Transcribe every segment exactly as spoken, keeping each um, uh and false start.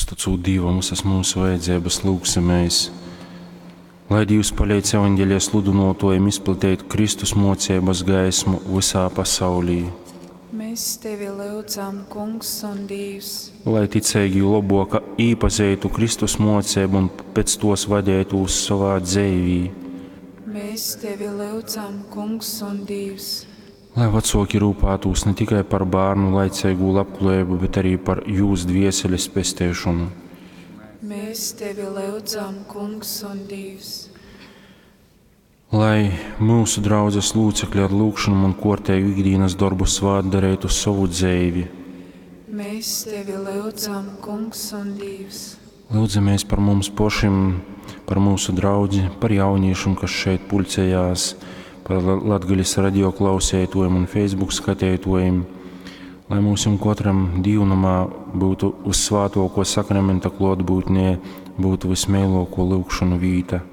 Uztycūt Dīvam visas mūsu vajadzības, lūgsimies. Lai Dīvs paleidz evaņģelija sludynuotuojim izplateit Kristus muoceibas gaismu vysā pasaulī. Mēs tevi lyudzam, Kungs un Dīvs. Lai ticeigī lobuok īpazeitu Kristus muoceibu un pēc tos vadeitūs sovā dzeivī. Mēs tevi lyudzam, Kungs un Dīvs. Lai vacuoki rūpātūs ne tikai par bārnu laiceigū labkluojeibu, bet arī par jūs dvieseles pesteišonu. Mēs tevi lyudzam, Kungs un Dīvs. Lai mūsu draudzes locekļi ar lūgšanu un kuorteigu ikdienas darbu svātdarētu sovu dzeivi. Mēs tevi lyudzam, Kungs un Dīvs. Lūdzamies par mums pašim, par mūsu draudzi, par jauniešiem, kas šeit pulcējās, par Latgales radio klausētojiem un Facebook skatētojiem, lai mūsim katram dīvnamā būtu uz svātoko sakramenta klotbūtnē, būtu vismēloko lūgšanu vīta.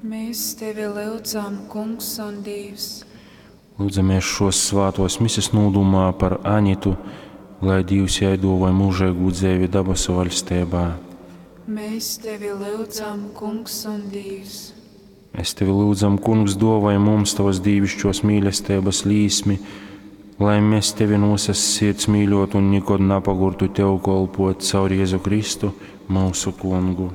Mēs tevi lyudzam, Kungs un Dīvs. Lūdzamies šos svātos mises nūdumā par Anitu, lai Dīvs jai dāvāja mūžīgu dzeivi dabasu valstībā. Mēs tevi lyudzam, Kungs un Dīvs. Es tevi lūdzam, Kungs, dāvāj mums tavas dīvišķos mīlestības līsmi, lai mēs tevi no visas sirds mīļotu un nekad napagurtu tev kolpot caur Jēzu Kristu, mūsu Kungu.